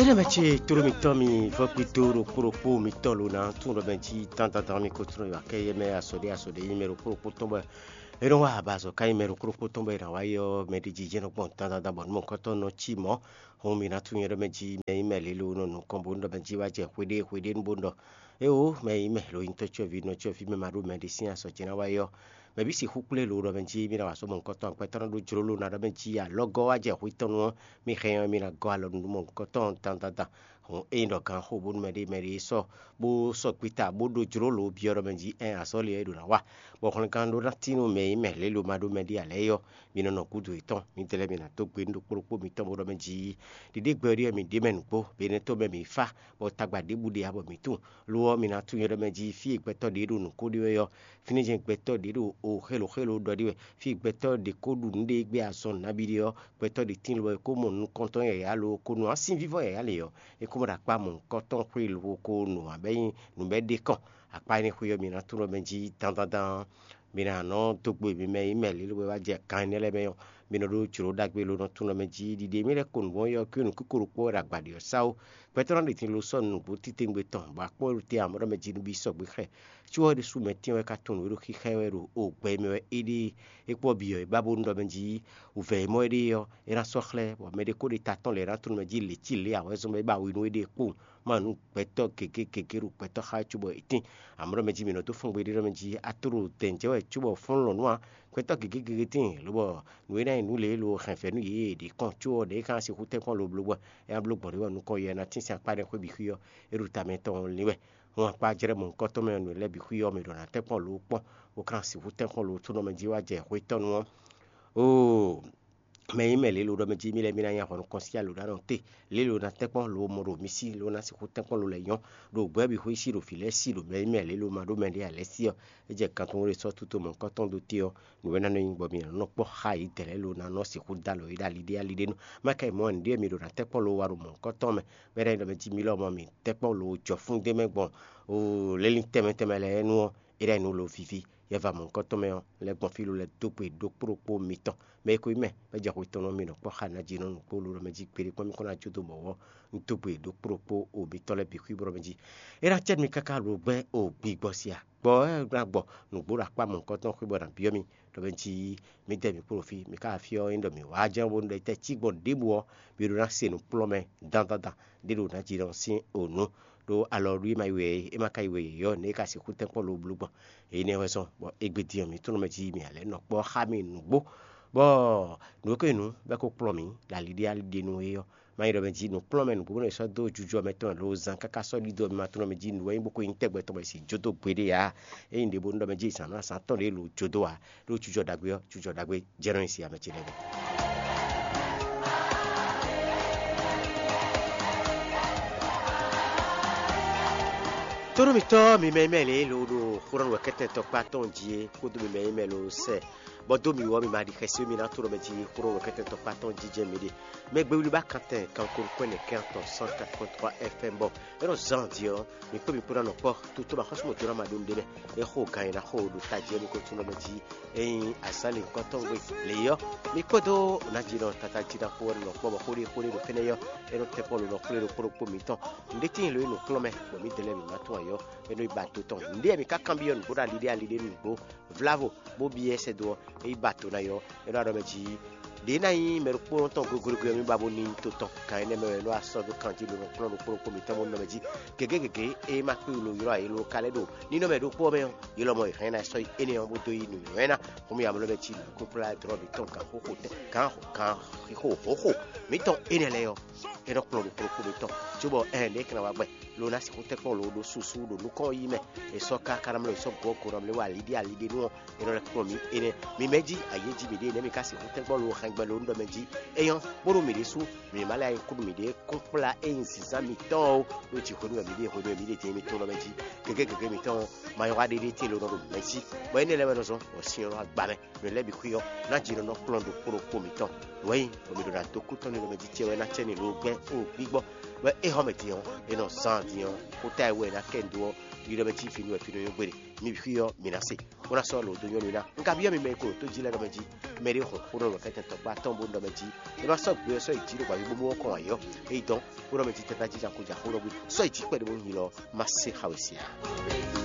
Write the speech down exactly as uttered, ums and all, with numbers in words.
Énɛ́ mɛ ce tlóló mitɔn mi vɔ́ gbido ɖokpó ɖokpó mitɔn lo ná tún ɖɔ mɛ jí dandandan mi ko tló yɔ akɛ yɛ mɛ asɔɖé asɔɖé nyí mɛ ɖokpó ɖokpó tɔn bɔ é nɔ wa abazɔ ká nyí mɛ ɖokpó ɖokpó tɔn bɔ é ná wa yɔ mɛ ɖi jijɛ nɔ gbɔn dandandan bɔ nú mɔ̌kɔtɔn nɔ cí mɔ̌. Hɔn mi ná tún nyɛ ɖɔ mɛ jí mɛ nyí mɛ lě lo nɔ nukɔn bó nɔ ɖɔ mɛ jí wá jɛ xwéɖé xwéɖé nú bó nɔ ɖɔ éwo mɛ nyí mɛ lo nyí tɔ́ cyɔ́ví nɔ cyɔ́ví mɛ ma ɖó mɛ ɖi sín asɔ ce ná wa yɔ. Mɛ bǐ sixú kplé lo ɖɔ mɛ jí mi ná wa sɔ́ mɔ̌kɔtɔn akwɛ́tɔ́ nɔ ɖó jló lo ná ɖɔ mɛ jí alɔgɔ́ wá jɛ xwé tɔn nú ɔ́, mi hɛn ɔ́ mi ná gɔ́ alɔ nú mɔ̌kɔtɔn dandandan. Hɔn ényí ɖɔ gǎn xo bónú mɛ ɖé mɛ ɖé sɔ́ bó sɔ́ gbíta bó ɖó jló lǒ byɔ́ ɖɔ mɛ jí ɛn azɔ̌li ɔ́ é ɖo ná wa, bɔ hwlɛngán ɖó ná tín nú mɛ e nyí mɛ lě lo ma ɖó mɛ ɖé ǎ lɛ́ɛ é ɔ́, mi nɔ nɔ gúdo yětɔn. Midɛɛ lɛ́ɛ mi ná dó gbe nú ɖokpó ɖokpó mitɔn bó ɖɔ mɛ jí ɖiɖégbɛ ɔ́ ɖíe mi ɖě mɛ nǔgbó, be énɛ́ tó mɛ mi fá, bɔ tagba ɖěbǔ ɖe ǎ bɔ mi tunwun. Lo ɔ́, mi ná tunwun nyɛ ɖɔ mɛ jí fí e gbɛtɔ́ ɖě ɖo nǔ ko ɖe wɛ ɔ́, fínɛ́ jɛ́n gbɛtɔ́ ɖě ɖo o xélo xélo ɖɔ ɖe wɛ. Fí e gbɛtɔ́ ɖě ko ɖu nǔ ɖe gbé azɔn nǎbí ɖe ɔ́, gbɛtɔ́ ɖě tín lobɔ é ko mɔ nukɔntɔn yǎyá lo ko nu asín vívɔ́ yǎyá lě ɔ́, é ko mɔ ɖo akpá mɔ̌hunkɔtɔn xwé lobo ko nu ǎ bɔ é nyí nǔ bɔ é ɖe kɔn. Akpá énɛ́ xwé ɔ́, mi ná tunwun ɖɔ mɛ jí dandandan. Mi ná nɔ dó gbe mi mɛ e nyí mɛ lě lobo wá jɛ kan énɛ́ lɛ́ɛ mɛ ɔ́, mi nɔ ɖó jlǒ ɖagbe lo nɔ tunwun ɖɔ mɛ jí ɖiɖe mì lɛ́ ko nǔ wɔn yɔ kí nǔkíko ɖokpó wɛ ɖo agbǎɖi ɔ́ sá ó. Gbɛtɔ́ ná ɖe tin lo sɔ́ nǔgbó títewungbe tɔn, bɔ akpɔ́ ɖo te ǎ mɔ ɖɔ mɛ jí nú bí sɔgbe xɛ. Có ɔ́ ɖésú mɛ tɛ́n wɛ ka tunwun nǔ e ɖo xixá ɛ wɛ ɖo ogbɛ e mɛ wɛ é ɖe é kpɔ́ byɔ̌ é ba bónú ɖɔ mɛ jí wǔvɛ́ e mɔ é ɖe ɔ́, é ná sɔ́ xlɛ́, bɔ mɛ ɖé ko ɖe ta tɔn lɛ̌ ná tunwun mɛ jí lě cí lě ǎ wɛ zɔn bɔ é ba we nú éɖée kpowun. Ma nú gbɛtɔ́ gěgé gěgé ɖo gbɛtɔ́ xá cóbɔ é tíin. Amɔ̌ ɖɔ mɛ jí mǐ nɔ dó fɔ́n gbeɖé ɖɔ mɛ jí a to ɖo dɛ̌n jɛ wɛ cóbɔ fɔ́n lɔ̌n nú ǎ. Gbɛtɔ́ gěgé gěgé tíin, lobɔ nǔ e ná nyí nǔ lě e lo hɛn vɛ̌ nú yě e ɖě kɔn có ɔ́, ɖě é ka ná sixú tɛ́nkpɔ́n lo bló bɔ é ná bló gbɔn ɖě wɛ nukɔn yɛ ná tín sín akpá ɖé xwé bǐ xwí ɔ́, é ɖo ta mɛ tɔn lin wɛ. Hɔn akpá jlɛ́ mɔ̌hunkɔtɔn mɛ ɔ́, nǔ lɛ́ɛ bǐ xwí ɔ́, mǐ ɖɔ ná tɛ́nkpɔ́n lo kpɔ́n, bó ka ná sixú tɛ́nkpɔ́n lo tó nɔ mɛ jí wá jɛ xwé tɔn nu ɔ́. Oo, mɛ nyí mɛ lě lo ɖɔ mɛ jí mì lɛ́ mì ná nyi ahɔ̌ nukɔn sín alǒ ɖó anɔ te. Lě lo ná tɛ́nkpɔ́n lo mɔ ɖo mì sí lo ná sixú tɛ́nkpɔ́n lo lɛ́ nyɔ́ ɖo gbɛ̌ bǐ xwé sí ɖo vǐ lɛ́ɛ sí ɖo mɛ nyí mɛ lě lo ma ɖó mɛ ɖé ǎ lɛ́ɛ sí ɔ́, é jɛ kan tɔn ɖé sɔ́ tútó mɔ̌hunkɔtɔn ɖó te ɔ́, nǔ e ná nɔ nyí bɔ mǐ nɔ kpɔ́ xá yě dɛ̌ lɛ́ɛ lo ná nɔ sixú dó alɔ yě ɖo ali ɖé ali ɖé nu. Má ka yi mɔ nǔɖé mi ɖo ná tɛ́nkpɔ́n lo wa ɖo mɔ̌hunkɔtɔn mɛ, bɔ é ná nyí ɖɔ mɛ jí mi lɔ mɔ mǐ tɛ́nkpɔ́n lo jɔ fún ɖé mɛ gbɔn lélí tɛnmɛ tɛnmɛ lɛ́ɛ nu ɔ́, é ɖo nǔ lo víví. Yɛva mɔ̌hunkɔtɔn mɛ ɔ́, lɛ́ gbɔn fí lo lɛ́ dó gbe ɖokpó ɖokpó mitɔn. Mɛ e ko nyí mɛ, bɔ é jɛ xwe tɔn nú mì nɔ kpɔ́ xa ná jí nɔ nǔgbó lo ɖɔ mɛ jí gbeɖé kpɔ́n mì kɔn ná jó dó mɔ̌ ɔ́, un dó gbe ɖokpó ɖokpó o mitɔn lɛ́ɛ bǐ xwí bɔ ɖɔ mɛ jí. É ná cɛ nú mi káká lo gbɛ́ o gbigbɔ sia. Gbɔ ɛ ná gbɔ nǔgbó ɖo akpá mɔ̌hunkɔtɔn xwé bɔ è nǎ byɔ́ mì ɖɔ mɛ jí mǐdɛɛ mǐ kpo ɖo fí, mǐ ka afí ɔ́ nyí ɖɔ mǐ wá jɛ́n bónú ɖɔ tɛ́ cí gbɔn ɖěbǔ ɔ́, mǐ ɖo ná se nǔkplɔ́nmɛ dandandan ɖé ɖo nǎ jí nɔ sín o nǔ. Ɖó alɔ ɖu e ma yi wɛ é, é ma ka yi wɛ yě ɔ́, nɛ̌ é ka sixú tɛ́nkpɔ́n lo bló gbɔn? Énɛ́ wɛ zɔ́n bɔ égbé din ɔ́, mǐ tlɔ́n mɛ jí mǐ ǎ lɛ́ nɔ kpɔ́ xá mì nǔgbó, bɔ nǔ e ko nyí nǔ bɔ é ko kplɔ́n mǐ ɖo ali ɖé ali ɖé nu é ɔ́, má nyí ɖɔ mɛ jí nǔkplɔ́nmɛ nǔgbó bónú è sɔ́ dó jujɔ mɛ tɔn lo zán káká sɔ́ ɖidó ɔ́, mi ma tlɔ́n mɛ jí nǔ wɛ nyí bó ko nyí tɛgbɛ tɔn bɔ è sì jó dó gbeɖé ǎ. Ényí ɖě bónú ɖɔ mɛ jí zǎn ná zǎn tɔn ɖě lo jó dó ǎ, ɖó jujɔ ɖagbe ɔ́, jujɔ ɖagbe jɛ nɔ nyi si ame ce lɛ́ɛ gbe. Tónú mǐtɔn mi mɛ mɛ lě lo ɖo xó nɔ wɛkɛ́tɛn tɔkpá tɔn jí é kpódó mi mɛ mɛ lo sɛ, bɔ dó mi wɔ mi ma ɖi xɛsi mi ná tónú mɛ jí xó nɔ wɛkɛ́tɛn tɔkpá tɔn jí jɛ mi ɖe. Mɛ gbewili ba kantɛn kanko nukɔn nɛ kɛn atɔn cent quatre point trois F M bɔ é nɔ zán di ɔ́, mi kpó mi kpó ná nɔ kpɔ́ toto ma xɔ́sú mɔ jɔ́ ná ma ɖó nu ɖé mɛ. É xo gan e ná xo ɖo tají ɔ́ mi ko tónú mɛ jí. Ényí azǎn lǐnkɔ́ntɔn gbe lě ɔ́, mi kpódó nǎjínɔ tata jí ná xo wɛ nɔ kpɔ́ bɔ xóɖé xóɖé ɖo fínɛ́ ɔ́, é nɔ tɛ́ kpɔ́n lǒ nɔ xwlé ɖokpó ɖokpó mǐtɔn. Nǔɖé tíin lǒ e nǔkplɔ́nmɛ, bɔ mǐdɛɛ lɛ́ɛ mǐ ma tunwun ayǐ ɔ́, é nɔ yi ba do tɔn. Nǔɖé e mǐ ka kanbyɔ́ nǔgbó ɖo ali ɖé ali ɖé nǔgbó vlávo, bó byɔ́ sɛ́ dó ɔ́, é yi ba do ná yi ɔ́, é nɔ ɖɔ mɛ jí ɖě ná nyí mɛ ɖokpónɔ tɔn goglogo ɔ́, mì ba bo ní nyí to tɔn. Kan énɛ́ mɛ wɛ é nɔ wá sɔ́ dó kanjí lǒ nɔ kplɔ́n ɖokpó ɖokpó mǐtɔn bó nɔ mɛ jí. Gěgé gěgé e ma kpé lo ylɔ́ ayǐ lo ka lɛ́ ɖo nínɔ́ mɛ ɖokpó ɔ́ mɛ ɔ́, ylɔ́ mɔ è hɛn ná sɔ́ yi énɛ́ ɔ́ bó dó yi nǔnywɛ́ ná. Xómì amlɔ mɛ jí nǔkúnplá drɔ́ mǐtɔn gǎn xóxó tɛn gǎn gǎn xixo xóxó mǐtɔn énɛ́ lɛ́ɛ ɔ́, é nɔ kplɔ́n ɖo kplɔ́kpó mǐtɔn, cóbɔ ɛhɛn ɖě kɛ́n wá gbɛ lo ná sixú tɛ́nkpɔ́n lo ɖó susu ɖo nukɔn yi mɛ. È sɔ́ káká ná mlɔ́ è sɔ́ gɔ̌ gǒ ná mlɔ́ wá aliɖí aliɖí nú ɔ́, é nɔ lɛ́ kplɔ́n mǐ énɛ́. Mi mɛ jí ayě jí mǐɖée nɛ̌ mi ka sixú tɛ́nkpɔ́n lo hɛn gbɛ lo nú ɖɔ mɛ jí é nyɔ́, bónú mǐ ɖésú mǐ ma lɛ́ ayǐ kúɖu mǐɖée kúnplá é nyí zǐnzán mǐtɔn ó, ɖó jǐ hwenu wɛ mǐ ɖe hwenu wɛ mǐ ɖe din mi tɔn lɔ mɛ jí. Gěgé gěgé mǐtɔn ɔ́, ma nyɔ́ wá ɖéɖé tíin lo nɔ ɖo mɛ̌ jí, bɔ énɛ́ lɛ́ɛ wɛ nɔ zɔ́n bɔ sin ɔ́ nɔ agba mɛ. Nǔ lɛ́ɛ bǐ xwí ɔ́, ná jǐ nɔ nɔ kplɔ́n ɖokpó ɖokpó mǐtɔn. Nǔ wɛ nyí bɔ mǐ ɖo ná dó kú tɔn nú nɔ mɛ jí cɛ wɛ ná cɛ ní lo gbɛ́ xó gbígbɔ, bɔ é hɔn mɛ din ɔ́, é nɔ zán din ɔ́, xó táyɛ wɛ è nǎ kɛ nǔ dó ɔ́, yi ɖɔ mɛ jí fínú wɛ fínú nyɔ́ gbére. Mi bǐ xwí ɔ́, mǐ ná se. bó ná sɔ́ lǒ dó nyɔ́nu ná. Un ka byɔ́ mi mɛ e ko ɖo tó jí lɛ́ɛ ɖɔ mɛ jí, mɛɖé xɔ xó nɔ ɖɔ kɛ́tɛn tɔkpá tɔn bó nɔ ɖɔ mɛ jí, é nɔ sɔ́ gbé ɔ́ sɔ́ yi jí ɖo gbǎví bóbó ɔ́ kɔn ayǐ ɔ́, é yi dɔn bó nɔ mɛ jí tɛ́ ná jí jako jà xó nɔ gbé sɔ́ yi jí kpɛɖé bó nyi lɔ má se xawě sia.